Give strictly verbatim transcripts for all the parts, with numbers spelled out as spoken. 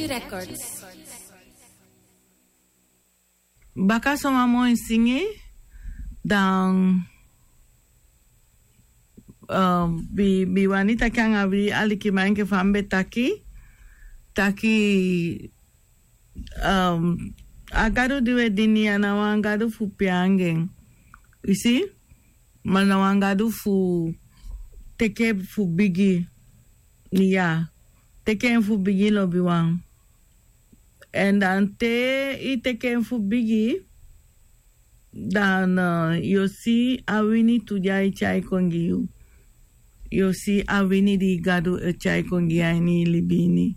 Records. Baka soma moi singi dan um, bi, bi wani taki anga wi alikiman enke fa mi be taki taki um, a gadu di we dini a na wan gadu fu piangen. Isi ma na wan gadu fu teke fu bigi. Ya, teke en fu bigi lobiwan. Èn dan te i teke en fu bigi dan yu o si a wini tu di a e tyai kon gi yu. Yu o si a wini di gadu e tyai kon gi yu a ini i libi ini.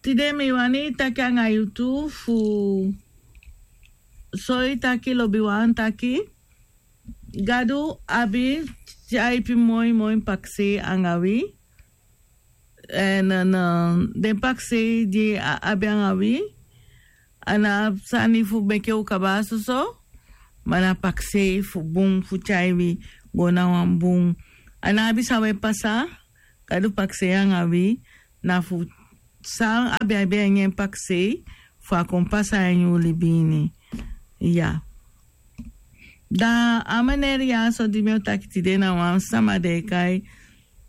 Tide mi wani taki anga yu tu fu soi taki lobiwan taki gadu abi tyaipi moi moi pakisei anga wi. Èn den pakisei di a abi anga wi a na abi sani fu meke u kaba soso. Ma na pakisei fu bun fu tyai wi go na wan bun. A na abi san we pasa gadu pakisei anga wi na fu san abi abi a ini en pakisei fu a kon pasa a ini u libi ini. Ya. Dan a maneri ya so di mi o taki tide na wan sama den e kai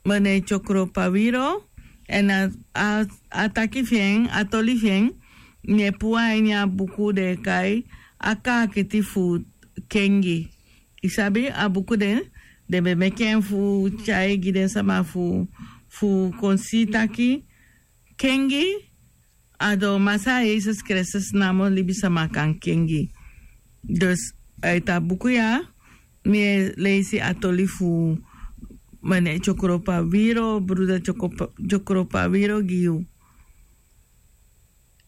mene tyokropa wiro. Èn a taki fi en a toli fi en mi e puu a ini a buku den e kai a kaakiti fu kengi. I sabi a buku den den be meke en fu tyai gi den sama fu fu kon si taki kengi a do masa yesus kristus namo libisama kan kengi. Dus a e tan buku ya mi e leisi a toli fu mane tyokropa wiro bruda tyokropa wiro gi yu.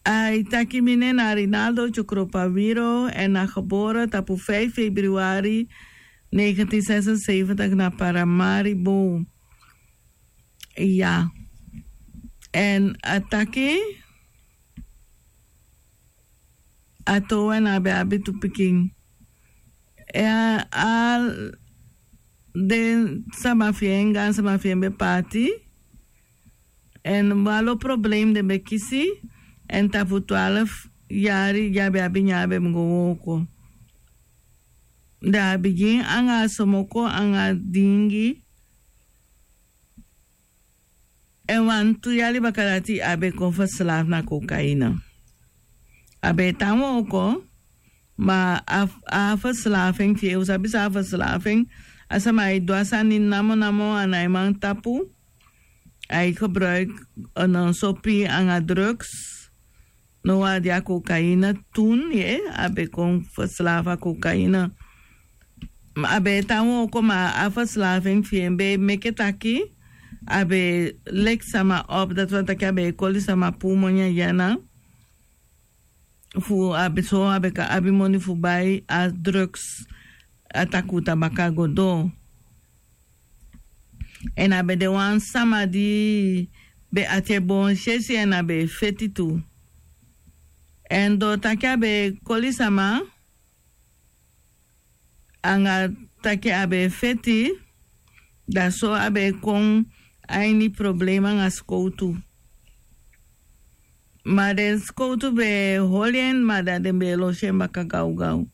A e taki mi nen na rinaldo tyokropa wiro èn a gebore tapu feifi februari negentien sesenseventig na paramari bow. Ya. Èn a taki a towe na a be abi tu pikin. Èn a den sama fi en gan sama fi en be paati. Èn walo problem den be kisi. Èn tapu twalfu yari di a be abi nyan a be mu go wooko. Da a bigin anga a somoko anga a dingi. Èn wantu yali baka dati a be kon feslafu na kokaina. A be e tan wooko ma a feslafu en fi en u sabi san a feslafu en. A sama e du a sani namonamo a naiman tapu. A e gebruiki sopi anga drugs. No wan a de a kokaina tun ye a be kon feslafu a kokaina. A be e tan wooko ma a feslafu en fi en be e meke taki a be e leki sama op dati wani taki a be e koli sama puu moni a dyana. Fu a be so a be kan abi moni fu bai a drugs. A takuta baka go doo. Èn a be de wan sama di be ati e boon sesi èn a be e feti tu. Èn doo taki a be e koli sama anga taki a be e feti. Da so a be e kon a ini problema anga sikowtu. Ma den sikowtu be e holi en ma da den be e losi en baka gawgaw.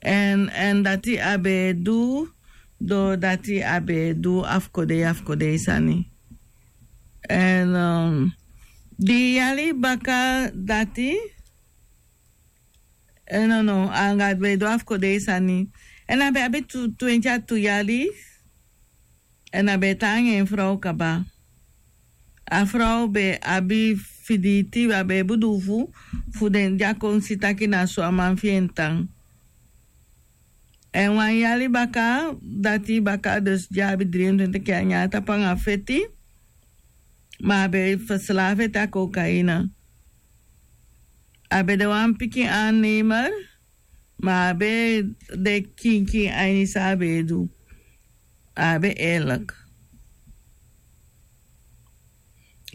Èn èn dati a be e du doo dati a be e du afukodei afukodei sani. Èn di yali baka dati. Èn nono anga a be e du afukodei sani. Èn a be abi twenti a tu yali. Èn a be e tan anga en frow kaba. A frow be abi fiditi a be e budufu fu den di a kon si taki na so a man fi en tan. Èn wan yali baka dati baka dus di a abi dri en twenti kenyata panga feti. Ma a be e feslafu ete a kokaina. A be de wan pikin annemer. Ma a be de kinkin a ini san a be e du. A be eerlik.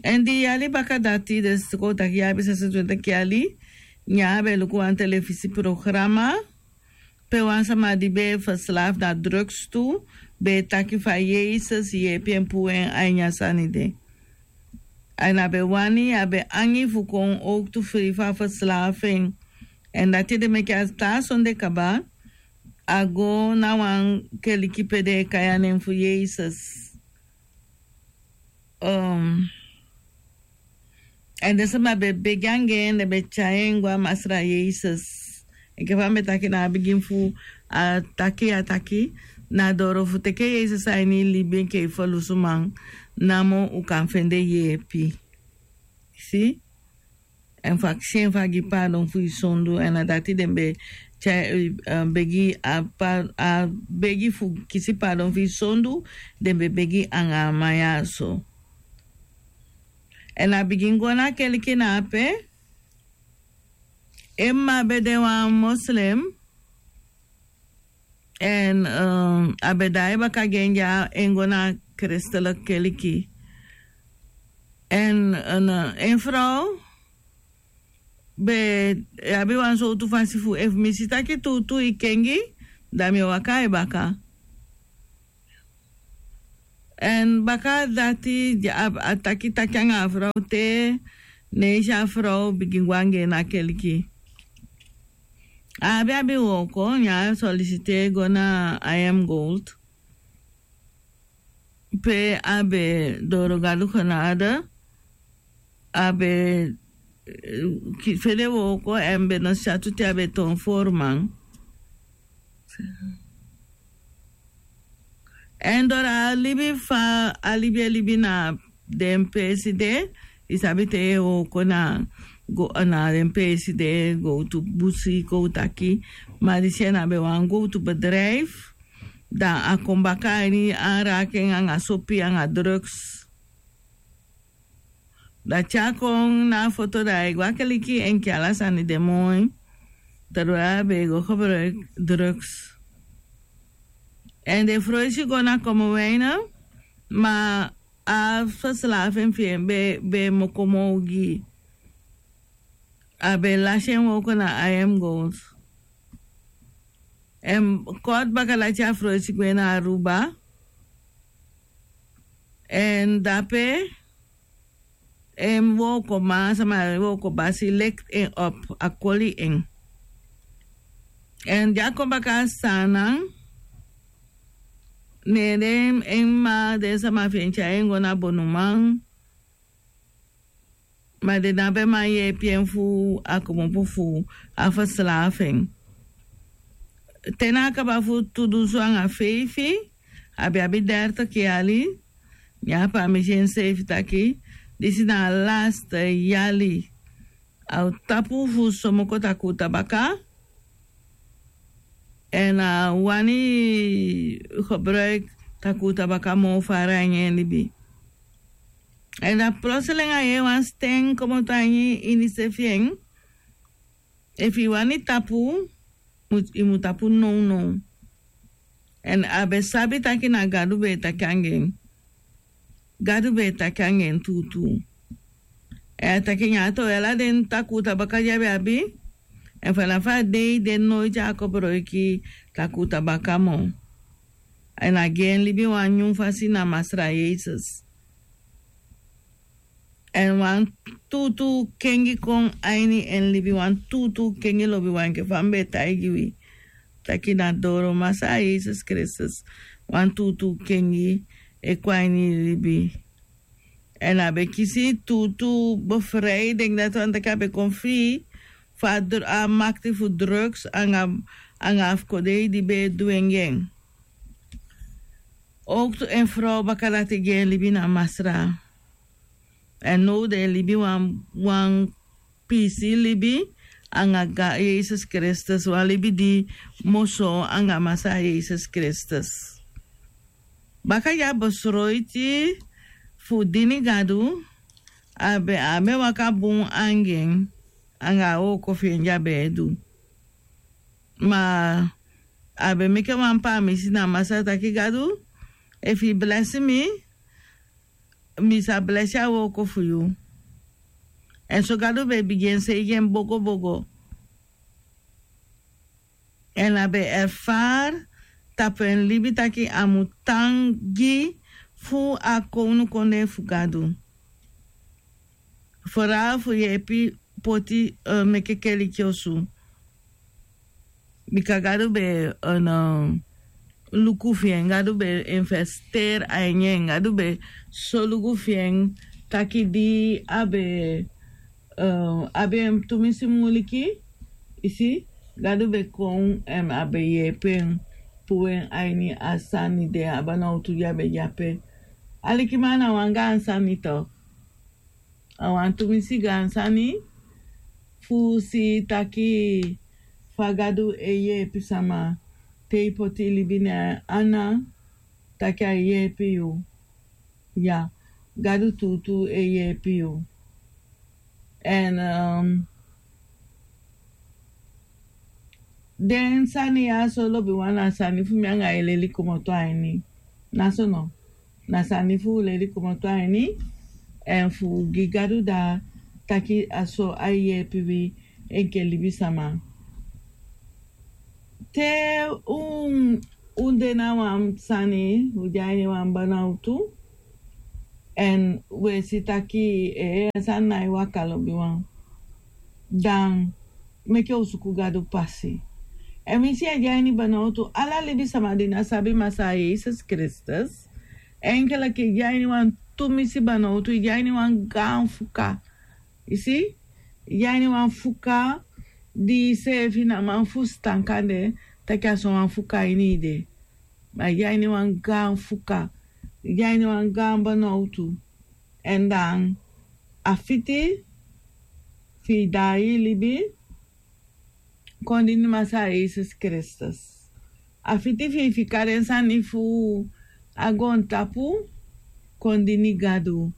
Èn di yali baka dati den siko taki yaabi sesentwintig yali. Nyan a be luku wan telefisi programa pe wan sama di be feslafu na drugs tu. be e taki fa Yesus yeepi en puu en a ini a sani de. Èn a be wani, a be angi fu kon owktu fri fu a feslaafu en. Èn dati ede meke a taa sonde kaba, a go na wan keliki pe den e kai a nen fu Yesus. Èn den sama be begi anga en, den be tyai en go a Masra Yesus. Enke fa mi be taki na a bigin fu a taki, a taki na doro fu teke Yesus a ini i libi enke i ferlusuman, namo u kan fende yeepi. Si? Èn fu akisi en fu a gi paadon fu i sondu, èn na dati den be tyai, begi a pa, a begi fu kisi paadon fu i sondu, den be begi anga a man ya so. Èn a bigin go na keliki na ape. En mma be de wan Muslim. Èn a be daai baka gi en dya, en go na a kresteliki keliki. Èn en frow be abi wan sowtu fasi fu, efu mi si taki tuutuu i kengi, dan mi e waka a i baka. Èn baka dati a taki taki anga a frow te, ne i si a frow bigin go anga en na keliki. A abi abi wooko, ne a solisitei go na I M Gold. Pe a be doro Gadu genade, a be fende wooko, èn mi be no si a tu te a be toon fooruman. Èn doro a libi fa a libi e libi na den peesi de, i sabi te yu e wooko na go na den peesi de, gowtu busi kon u taki, ma disi en a be wan gowtu bedrijf. Dan a kon baka a ini aanraking anga sopi anga drugs. Dan te a kon na a foto dan a e go a keliki enke ala sani de moi. Terwijl a be e go gebruik drugs. Èn den froisi go na Kommerwijnen, ma a verslaven fi en be e moko moo gi. A be lasi en wooko na I M Gold. Èn kort baka dati a froisi gwe na Aruba. Èn dape en wookoman, sama wookoman basi likt en op, a koli en. Èn di a kon baka a Saanan, ne den en mma, den sama fi en tyai en go na bonuman. Ma den no abi man yeepi en fu a kmopo fu a verslaven. Te na a kaba fu tu dunsu anga feifi, a be abi dertig yali, ne a pamisi enseefi taki disi na a laste yali. A o tapu fu somoko takuu tabaka. Èn a wani gebruik takuu tabaka moo fara a ini en libi. Èn dan plotseling a yee wan sten komoto a ini inisefi en. Efu i wani tapu, i mu tapu nownow. Èn a be sabi taki na Gadu be e taki anga en. Gadu be e taki anga en tuutuu. Èn a taki nyan a towe ala den takuu tabaka di a be abi. Èn fanafu a dei de noiti a kobroiki takuu tabaka moo. Èn a gi en libi wan nyun fasi na Masra Yesus. Èn wan tuutuu kengi kon a ini en libi, wan tuutuu kengi lobiwan enke fa mi be taigi wi. Taki na doro Masra Yesus Kristus wan tuutuu kengi e kon a ini libi. Èn a be kisi tuutuu befrijding, dati wani taki a be kon fii fu a makti fu drugs anga a fu kodei di be e du en gi en. Owktu en frow baka dati gi en libi na Masra. Èn now den e libi wan wan piisii libi anga Yesus Kristus, wan libi di moso anga Masra Yesus Kristus. Baka di a besroiti fu dini Gadu, a be a be waka bun anga en anga a wooko fi en di a be e du. Ma a be meke wan pamisi na Masra taki Gadu, efu i blesi mi, mi sa blesi a wooko fu yu. Èn so Gadu be bigin seigi en bogobogo. Èn a be erfari tapu en libi taki a mu tan gi fu a kownu kondee fu Gadu. Fora fu yeepi poti meke keliki osu. Bika Gadu be luku fi en, Gadu be investeri a ini en, Gadu be solugu fi en taki di a be abi en tumisi muliki, i si, Gadu be kon, a be yeepi en puu en a ini a sani de, a banowtu di a be de ape. Alikiman, na wan gaan sani tu. A wan tumisi gaan sani fu si taki fa Gadu e yeepi sama te i poti i libi na en ana, taki a e yeepi yu. Ya, Gadu tuutuu e yeepi yu. Èn den sani ya so lobiwan na sani fu mi anga yu e leli komoto a ini. Na so no? Na sani fu u leli komoto a ini. Èn fu gi Gadu dati taki a so a e yeepi wi enke libisama. Te un un de na wan sani, un de a ini wan banawtu, èn un e si taki en sani nái waka lobiwan, dan meke un suku Gadu pasi. Èn mi si a de a ini banawtu, ala libisama di ná sabi Masaa Yesus Kristus, enke leki i de a ini wan tumisi banawtu, i de a ini wan gaan fuka. I si, i de a ini wan fuka di iseefi ná man fusutan kande taki a so wan fuka ini i de. Ma i de a ini wan gaan fuka, i de a ini wan gaan banawtu. Èn dan a fiti fi i daai i libi kon dini Masaa Yesus Kristus. A fiti fi i fika den sani fu a goontapu kon dini Gadu.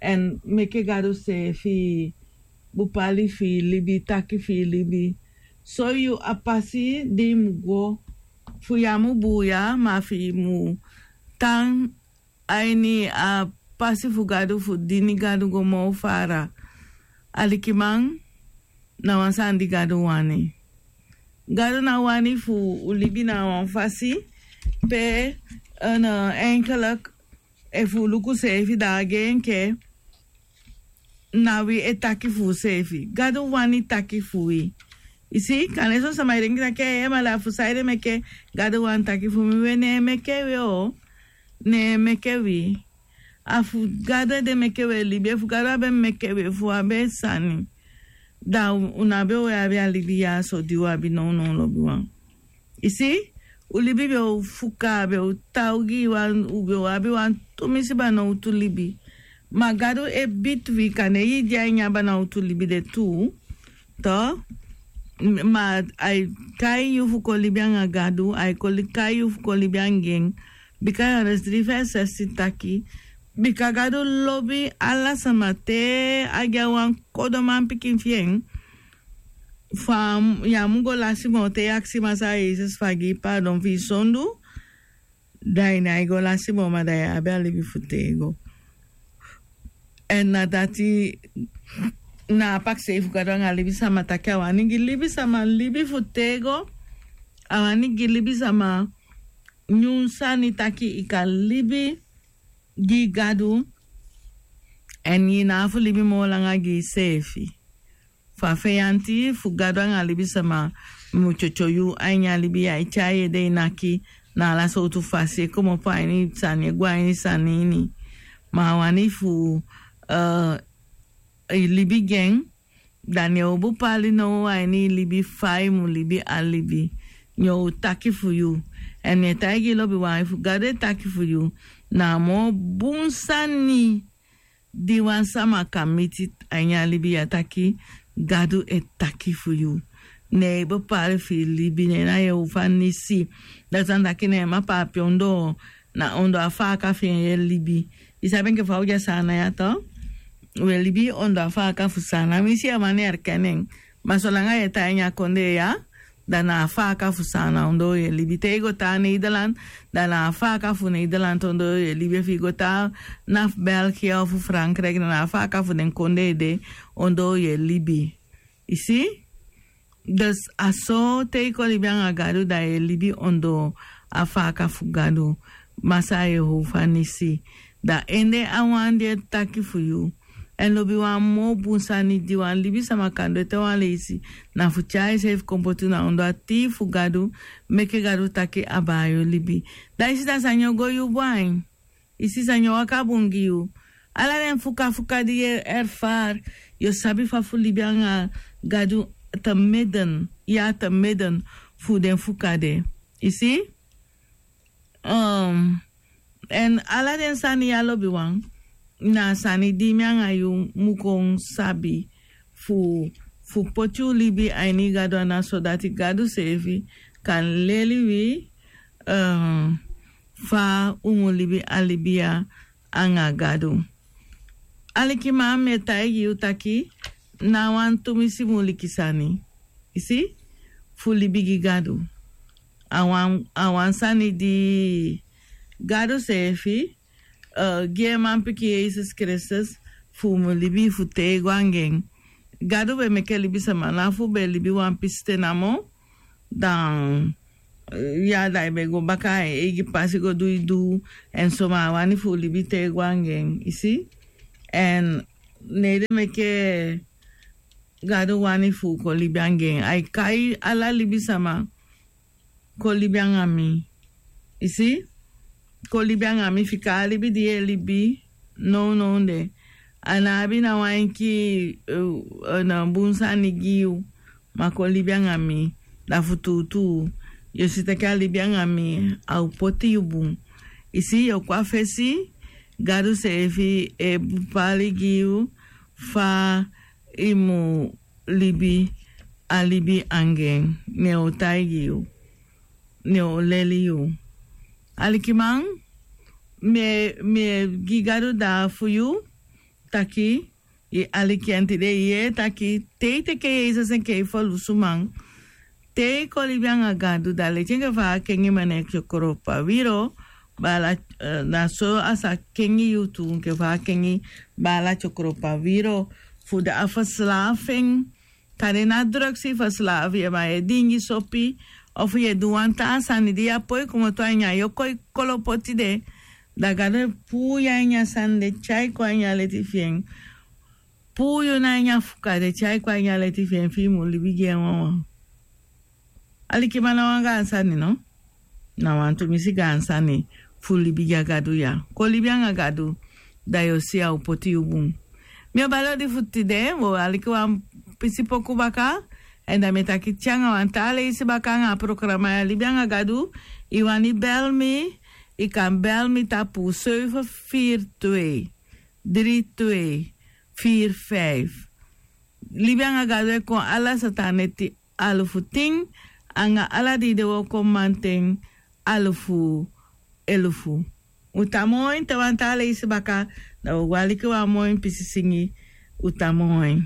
Èn meke Gadu seefi bupali fi i libi, taki fi i libi, soi yu a pasi di i mu go. Fu yu á mu buuya, ma fi i mu tan a ini a pasi fu Gadu fu dini Gadu go moo fara. Alikiman, na wan sani di Gadu wani. Gadu ná wani fu u libi na wan fasi pe, enkelek, efu u luku seefi dan a gei enke na wi e taki fu useefi. Gadu wani taki fu wi. I si, kande son sama e denki taki, ee, ma da fu saide meke Gadu wani taki fu mi? We, ne en meke wi o. Ne en meke wi. A fu Gadu ede meke wi e libi. Efu Gadu á be meke wi, efu u á be sani, da u ná be o abi a libi ya so di u abi nownow, lobiwan. I si, u libi be o fuka, be o tan ogii, wan, u be o abi wan tumisi banawtu libi. Ma Gadu e bidi wi, kande i de a ini a banawtu libi de tu. To, ma ai kai yu fu kon libi anga Gadu, ai kai yu fu kon libi anga en. Bika Johannes dri vers zestien taki, bika Gadu lobi ala sama te a gi a wan kodo manpikin fi en. Fa yu á mu go lasi moo te yu akisi Masaa Yesus fu a gi i paadon fi i sondu, da i nái go lasi moo, ma da yu abi a libi fu tego. Èn na dati na a pakisei fu Gadu anga libisama, taki a wani gi libisama libi fu tego. A wani gi libisama nyun sani taki i kan libi gi Gadu. Èn i ná abi fu libi moo langa gi iseefi. Fa feyanti fu Gadu anga libisama mu tyotyo yu a ini a libi ya, e tyai yu ede, e naki na ala sowtu fasi, e komopo a ini sani, e go a ini sani ini. Ma a wani fu i libi gi en, da ne en o bupali now a ini i libi fa i mu libi a libi. Ne en o taki fu yu. Èn mi e taigi i, lobiwan, efu Gadu e taki fu yu, na a moo bun sani di wan sama kan miti a ini a libi ya, taki Gadu e taki fu yu. Ne en bepali fi i libi, ne en na yu fasi. Dati wani taki ne en mapa ape ondoo, na ondoo a faaka fi en yu e libi. I sabi enke fa u de a Saanan ya, to? U e libi ondoo a faaka fu Saanan. Mi si a man e erken en. Ma solanga yu e tan a ini a kondee ya, da na a faaka fu Saanan ondoo yu e libi. Te i go tan a Nederland, da na a faaka fu Nederland ondoo yu e libi. Efu i go tan na België ofu Frankrijk, da na a faaka fu den kondee de ondoo yu e libi. I si? Dus a so te i kon libi anga Gadu, da yu e libi ondoo a faka fu Gadu, Masaa Yehova Nisi. Da en de a wan di e taki fu yu. Èn lobi wan moo bun sani di wan libisama kan du ete wan leisi, na fu tyai iseefi kon poti na ondoo a tii fu Gadu, meke Gadu taki abaa yu libi. Da i si da sani o go yu bun ain. I si sani o waka bun gi yu. Ala den fukafuka di yu e erfari, yu o sabi fa fu libi anga Gadu te midden, ya te midden fu den fuka de. I si? Um, èn ala den sani ya lobiwan, na sani di mi anga yu mu kon sabi fu, fu poti u libi a ini Gadu ana, sodati Gadu seefi kan leli wi, um, fa u mu libi a libi ya anga Gadu. Alikiman, mi e taigi yu taki, na wan tumisi muliki sani. I si? Fu libi gi Gadu. A wan, a wan sani di Gadu seefi, eh, gi en manpikin Yesus Kristus fu u mu libi fu te i go anga en. Gadu be meke libisama, na fu be libi wan pisi te namo, dan, eh, ya da i be go baka a en eigi pasi go du i du, èn so ma a wani fu u libi te i go anga en, i si? Èn ne den meke Gadu wani fu u kon libi anga en. Ai kai ala libisama, kon libi anga mi. I si? Kon libi anga mi, fika a libi di yu e libi nownow de. A ná abi na wan enki, eh, eh, na bun sani gi yu, ma kon libi anga mi. Da fu tuutuu, yu o si taki a libi anga mi, a o poti yu bun. I si, yu o kon a fesi, Gadu seefi e bepali gi yu fa i mu libi a libi anga en, ne o taigi yu, ne o leli yu. Alikiman, mi e, mi e gi Gadu dati fu yu, taki, i aliki en tide, i yee taki, te i teke Yesus enke i ferlusuman, te i kon libi anga Gadu, da leti enke fa a kengi maneki tyokropa wiro, baala, eh, na so a sa kengi yu tu, enke fa a kengi baala tyokropa wiro, fu de a verslaving, kande na drugs i verslaaf yu, ma yu e dingi sopi, of yu e du wan taa sani di yu á poi komoto a ini a yu o kon e kolopo tide, da Gadu e puu yu a ini a sani de, tyai kon a ini a leti fi en. Puu yu na ini a fuka de, tyai kon a ini a leti fi en, fi i mu libi gi en wawan. Alikiman, na wan gaan sani, no? Na wan tumisi gaan sani fu libi gi a Gadu ya. Kon libi anga Gadu, da yu o si a o poti yu bun. Mi o bali odi fu tide, wi o aliki wan pisi poku baka, èn da mi e taki te anga wan taa leisi baka anga a programa ya, Libi anga Gadu. I wani bel mi, i kan bel mi tapu zeven vier twee, drie twee, vier vijf. Libi anga Gadu e kon ala sata neti alufu tin, anga ala dei de wi o kon manten alufu elufu. U tan moi, te wan taa leisi baka, da wi o go aliki wan moi pisi singi. U tan moi.